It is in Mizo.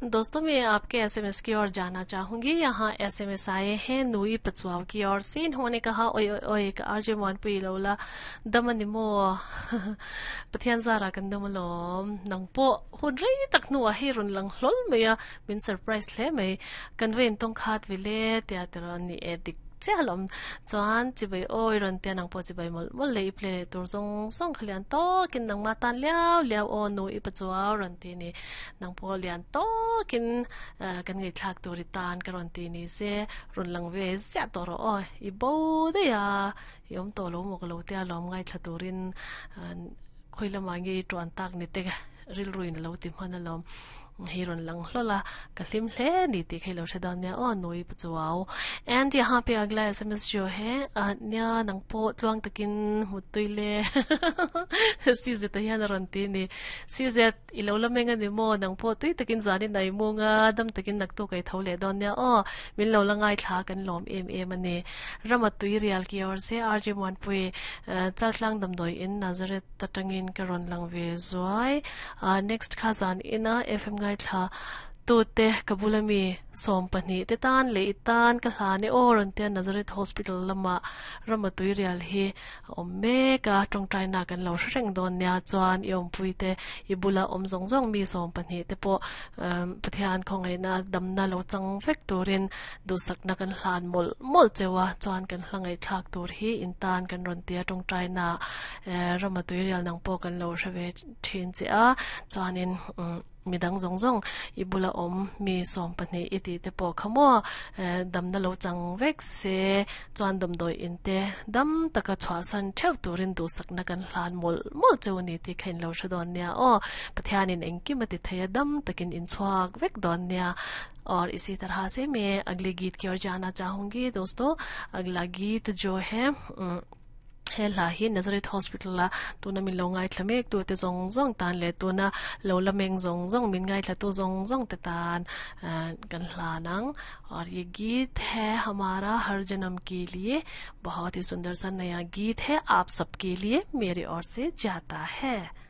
दोस्तों, मैं आपके एसएमएस की ओर जाना चाहूंगी। यहाँ एसएमएस आए हैं नुई पचुआव की ओर से। इन्होंने कहा, ओए ओए ओए, आरजे मोनपुई लोला दमन mo pathian zara kan damalom nang po hun rei tak nu a hei run lang hlol mai a, min surprise hle mai, kan vein tawng khat vile tia tiraw ni e dik chiah alawm chuan chibai awi rawn tia nang pawh chibai mawlh mawlh leh i play leh tur zawng zawng kha lian tawkin nangma tan liau liau aw nu i pachuau rawn ti ni nang pawh lian tawkin kan ngaihthlak tur i tan ka rawn ti ni se rawn lang ve ziah tawh rawh aw i bo daih a i awm tawh lo maw ka lo tia alawm ngaithla turin khawi lamah nge i tuan tak ni te rilruin a lo ti hman alawm. Hei rawn lang hlawlh a, ka hlim hle ni tih kha i lo hre dawn nia aw Nui Pachuau. And yahan pe agla SMS jo he nia nang pawh tluang takin hmut tui le CZ ah hian a rawn ti ni. CZ i lo la meng a ni maw nang pawh tui takin zanin a i mung a, dam takin naktuk a i tho leh dawn nia aw min lo la ngaithla kan lawm em em a ni. Rama tui rial ki awr se RJ Muanpui Chaltlang damdawi in Nazareth atangin ka rawn lang ve zuai a next kha zan ina FM ngaithla tute ka bula mi 12 te tan leh i tan ka hlan e aw rawn tia Nazareth Hospital lama rama tuirial hi a awm mek a tawngtai na kan lo hre reng dawn nia chuan i awmpui te i bula awm zawng zawng mi 12 te pawh Pathian khawngaihna damna lo chang vek turin Duhsakna kan hlan mawlh mawlh cheu a, chuan kan hla ngaihthlak tur hi in tan kan rawn ti a, tawngtaina rama tuirial nang pawh kan lo hre ve thin che a, chuanin midang zawng zawng i bula awm mi 12 i tih te pawh kha maw damna lo chang vek se, chuan damdawi in te dam taka chhuahsan theuh turin duhsakna kan hlan mawlh mawlh cheu a ni tih kha in lo hre dawn nia aw, Pathianin engkim a ti thei a, dam takin in chhuak vek dawn nia. और इसी तरह से मैं अगले गीत की ओर जाना चाहूंगी दोस्तों। अगला गीत जो है he hla hi Nazareth Hospital a tuna min lo ngaithla mek tu te zawng zawng tan leh tuna lo la meng zawng zawng min ngaithla tu zawng zawng te tan kan hlan ang और ये गीत है हमारा हर जन्म के लिए बहुत ही सुंदर सा नया गीत है आप सबके लिए मेरे ओर से जाता है।